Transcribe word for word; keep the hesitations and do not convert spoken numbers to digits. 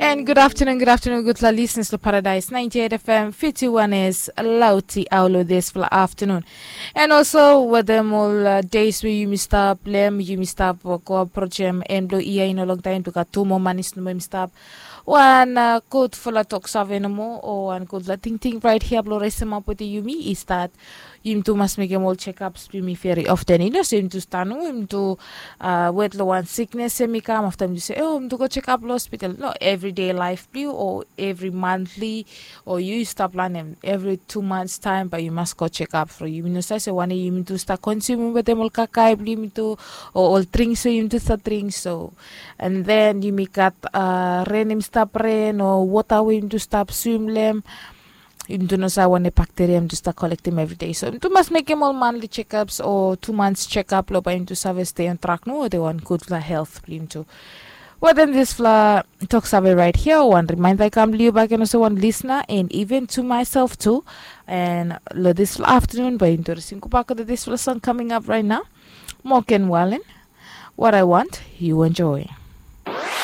And good afternoon, good afternoon, gutpela listeners lo Paradise ninety-eight F M, fifty-one is Lauti Aulo this fla afternoon. And also, wetem ol uh, days where yumi stap lem, yumi stap uh, go approach em, and blo ia in a long time, tu got two more manis no more yumi stap. Wan uh, good fla talk save no more, or one good la ting ting right here, blo resem up with yumi, is that yumi tu mas mekem ol checkups blo yumi very often. You know, so yumi tu stanu, yumi tu uh, wet lo wan sickness, yumi kam after yumi tu say, oh, yumi tu go check up lo hospital. No, everyday life blo you, or every monthly, or you stop lanem every two months time, but you must go check up for you. You know, so I say one yumi tu start consuming with them ol kakai blo yumi tu, or ol drinks so yumi tu start drink. So, and then yumi got uh, rain yumi stop rain, or water where yumi tu stop swim lem. Yumi tu no sa wan bacteria yumi tu start collectim every day. So yumi tu mas mekem ol monthly checkups or two months checkup lo ba yumi tu save stay on track no, they want good fla health blo yumi tu. Well, then this fla talk save right here. One reminder I come liu back and also one listener and even to myself too. And lo this fla afternoon, ba yumi tu resim go back to this fla song coming up right now. Morgan Wallen, what I want, you enjoy.